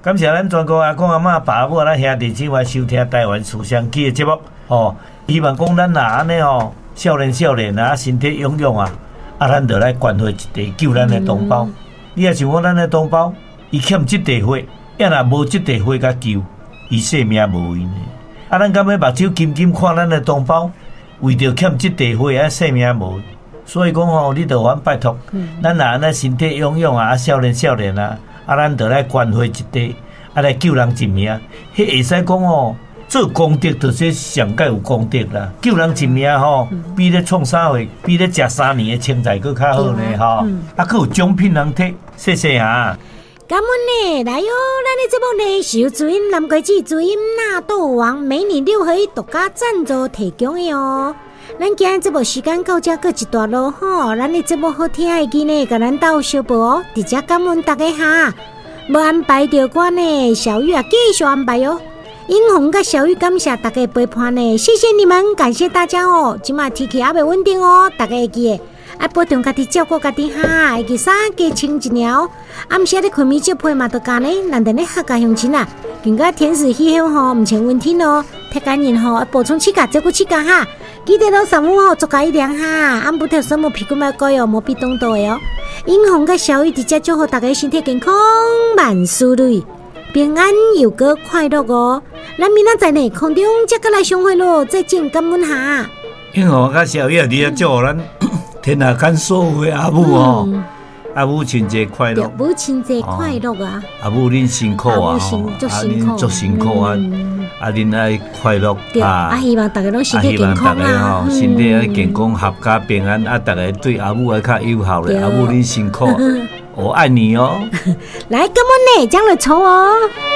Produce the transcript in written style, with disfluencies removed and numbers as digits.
感謝咱全國阿公阿嬤、爸母、咱兄弟姊妹收聽台灣思想記的節目，吼，希望講咱若按呢吼，少年少年啊，身體勇勇啊，啊，咱就來關懷一地救咱的同胞。你若想講咱的同胞，伊欠這塊血，抑若無這塊血共救，伊性命無閒的。啊，咱敢欲目睭金金看咱的同胞，為著欠這塊血啊，性命無。所以講吼，你著阮拜託，咱若按呢身體勇勇啊，少年少年啊，啊，咱著來關懷一地，啊，來救人一命。彼會使講吼，做功德就是上蓋有功德啦。救人一命吼，比咧創啥貨，比咧食3年的青菜閣較好呢吼。啊，閣有獎品通摕，謝謝啊。感恩呢，來喲！咱的節目呢是由知音南瓜子、知音納豆王美女六合一獨家贊助提供的哦。咱今日節目時間到這閣一段囉吼，咱的節目好聽會記呢，共咱鬥相報哦。佇遮感恩大家哈，無安排著我呢，小玉啊繼續安排喲。英紅佮小玉感謝大家陪伴呢，謝謝你們，感謝大家哦。這馬天氣猶未穩定哦，大家會記得愛保重家己，照顧家己哈，會記衫加穿一領。暗時咧睏眠借被嘛都加呢，難得咧客家鄉親啊，更加天時氣候吼，毋穿溫天哦，體感人吼，愛補充氣鉀，照顧氣鉀哈。記得囉上午吼，做加一點哈，按不特什麼屁股麥乖哦，無比凍到的哦。英紅佮小玉佇遮祝福大家身體健康，萬事如意，平安又閣快樂哦。咱明仔載呢，空中再閣來相會囉，再見，感恩哈。英紅佮小玉佇遮祝福咱天下間所有的阿母哦。阿母親節快樂！母親節快樂啊！阿母恁辛苦啊！啊恁足辛苦啊！啊恁愛快樂啊！啊希望大家攏身體健康啊！身體愛健康，闔家平安啊！大家對阿母愛較友好咧，阿母恁辛苦，我愛你哦！來，感恩呢，將來抽哦。